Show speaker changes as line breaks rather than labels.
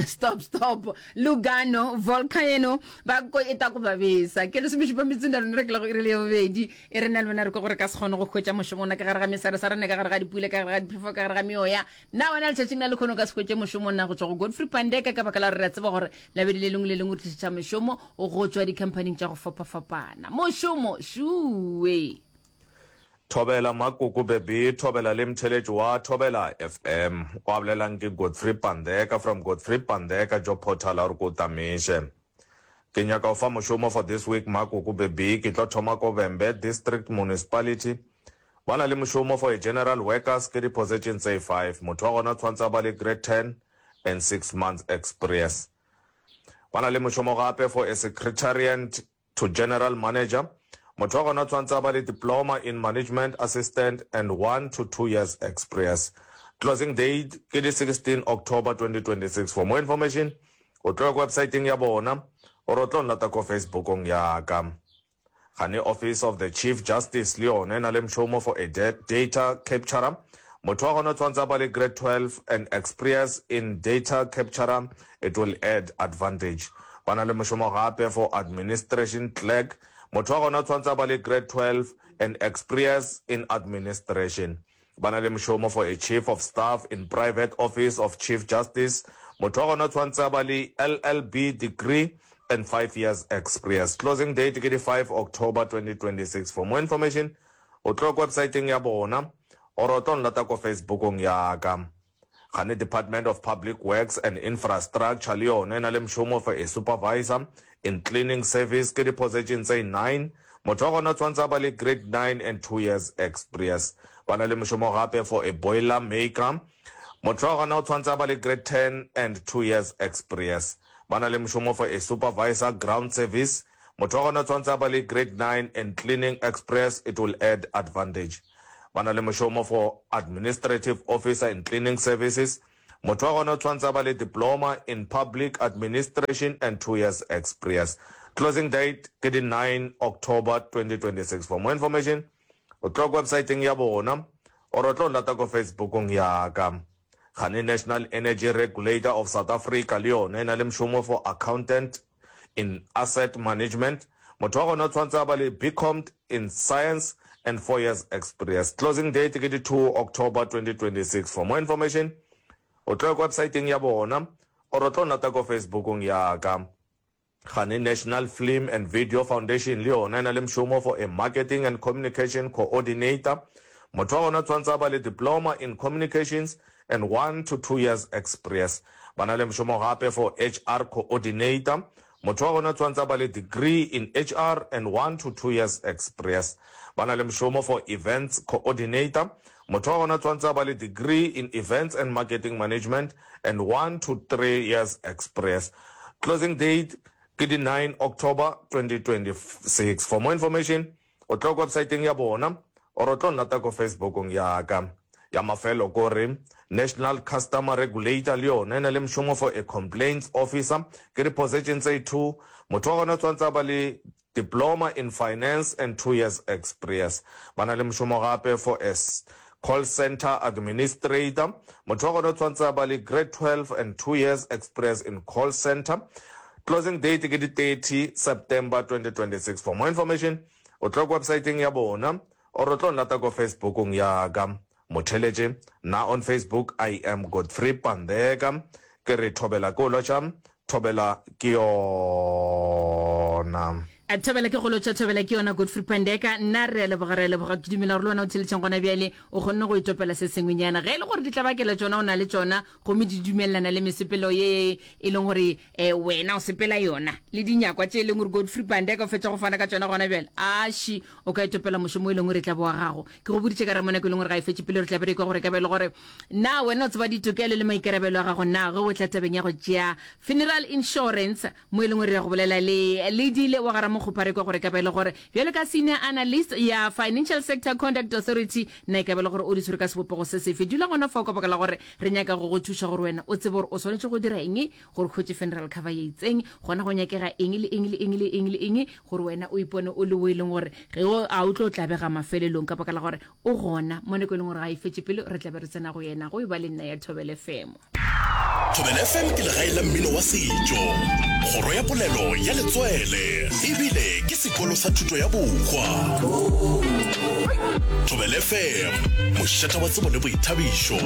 Stop stop Lugano Volcano ba ko e ta ku vavisa. Ke lesomešupa metsotso na lona re ke lego iri le ya bobedi e re na le wena re kwa gore ka se kgone go hwetša mošomo na ka gare ga mesaresa rena ka gare ga dipula ka gare ga diphefo ka gare ga meoya na wena letšatšing la lekgono ka se hwetše mošomo na go tšwa go Godfrey Pandeka ka baka la gore re a tseba gore labedi le lengwe le lengwe re tlišetša mešomo go tšwa dikhamphaning tša go fapafapana mošomo šuwe.
Thobela Makoko Beby, Thobela le mtheletši wa Thobela FM. Wa bolelang ke Godfrey Pandeka from Godfrey Pandeka Job Portal a re ko tamiše. Ke nyaka go fa mošomo for this week Makoko Beby, ke tlo thoma ko Vhembe District Municipality. Ba na le mošomo for a general workers ke di position tse five. Motho wa gona tshwantse a ba le grade 10 and 6 months experience. Ba na le mošomo gape for a secretariat To General Manager, motho wa gona o tshwanetse a ba le Diploma in Management Assistant and one to two years exprience. Closing date ke di 16 October 2026. For more information, o tlo ya ko websiteng ya bona or o tlo nlata ko Facebookong ya ka. Gane Office of the Chief Justice le yona e na le mšomo for a data capturer. Motho wa gona o tshwanetse a ba le grade 12 and exprience in data capturer It will add advantage. Ba na le mošomo gape for administration clerk. Motho wa gona o tshwanetse a ba le grade 12 and exprience in administration. Ba na le mošomo for a chief of staff in private office of chief justice. Motho wa gona o tshwanetse a ba le LLB degree and 5 years exprience. Closing date ke di 5 October 2026. For more information, o tlo ko websiteng ya bona or o tlo nlata ko Facebookong ya ka. Gane Department of Public Works and Infrastructure le yona e na le mošomo for a supervisor in cleaning service ke di-position tse nine. Motho wa gona o tshwanetse a ba le grade nine and two years exprience. Ba na le mošomo gape for a boiler maker. Motho wa gona o tshwanetse a ba le grade ten and two years exprience. Ba na le mošomo for a supervisor ground service. Motho wa gona o tshwanetse a ba le grade nine and cleaning express, it will add advantage. Ba na le mošomo for Administrative Officer in Cleaning Services. Motho wa gona o tshwanetse a ba le Diploma in Public Administration and two years exprience. Closing date ke di 9 October 2026. For more information, o tlo ko websiteng ya bona or o tlo lata ko Facebookong ya ka. Gane National Energy Regulator of South Africa le yona e na le mošomo for Accountant in Asset Management. Motho wa gona o tshwanetse a ba le BCompt in Science and 4 years experience. Closing date ke di 2 October 2026. For more information, o tlo ya ko websiteng ya bona or o tlo nlata ko Facebookong ya ka. Gane National Film and Video Foundation le yona e na le mošomo for a Marketing and Communication Coordinator. Motho wa gona o tshwanetse a ba le Diploma in Communications and one to two years exprience. Ba na le mošomo gape for HR Coordinator. Motho wa gona o tshwanetse a ba le degree in HR and one to two years exprience. Ba na le mošomo for Events Coordinator. Motho wa gona o tshwanetse a ba le degree in Events and Marketing Management and one to three years exprience. Closing date ke di 9 October 2026. For more information, O tlo ko websaeteng ya bona or o tlo nlata ko Facebookong ya ka. Ya mafelo ko re National Customer Regulator le yona e na le mošomo for a complaints officer ke di position tse two. Motho wa gona o tshwanetse a ba le Diploma in Finance and two years exprience. Ba na le mošomo gape for a call centre administrator. Motho wa gona o tshwanetse a ba le grade 12 and two years exprience in call centre. Closing date ke di 30 September 2026. For more information, o tlo ko websiteng ya bona or o tlo nlata ko Facebookong ya ka. Motheletše, nna on Facebook I am Godfrey Pandeka. Ke re thobela ke o lotšha, thobela ke yona.
A Thobela ke go lotšha, thobela ke yona Godfrey Pandeka. Nna re a leboga, re a leboga. Ke dumela gore le wena o theletšeng gona bjale o kgonne go itopela se sengwenyana. Ge e le gore ditlabakelo tšona o na le tšona gomme di dumelelana le mesepelo ye e leng gore um wena o sepela yona le dinyakwa tše e leng gore Godfrey Pandeka o fetša go fana ka tšona gona bjale, aši o ka itopela mošomo e leng gore e tla bo wa gago. Ke go boditše ka re mo nako e leng gore ga e fetše pele re tla be re ekwa gore e ka ba e le gore na wena o tseba ditokelo le maikarabelo a gago na ge o tla tabeng ya go tšea funeral insurance mo e leng gore re ya go bolela le Ledile wa ga Ramokgopa re kwa gore e ka ba e le gore bjalo ka senior analyst ya Financial Sector Conduct Authority na e ka ba e le gore o di tshwere ka sebopego se sefe. Dula gona fao ka baka la gore re nyaka go go thuša gore wena o tsebe gore o swanetše go dira eng gore o hwetše funeral cover ye itseng, gona go nyakega eng le eng le eng le eng le eng gore wena o ipone o le o e leng gore ge o a o tlo tlabega mafelelong ka baka la gore o gona mo nako e leng gore ga e fetše pele re tla be re tsena go yena go e ba le nna ya Thobela FM.
Thobela FM ke legae la mmino wa setšo, kgoro ya polelo ya letswele ebile ke sekolo sa thuto ya bohwa. Thobela FM, mošate wa tsebo le boithabišo.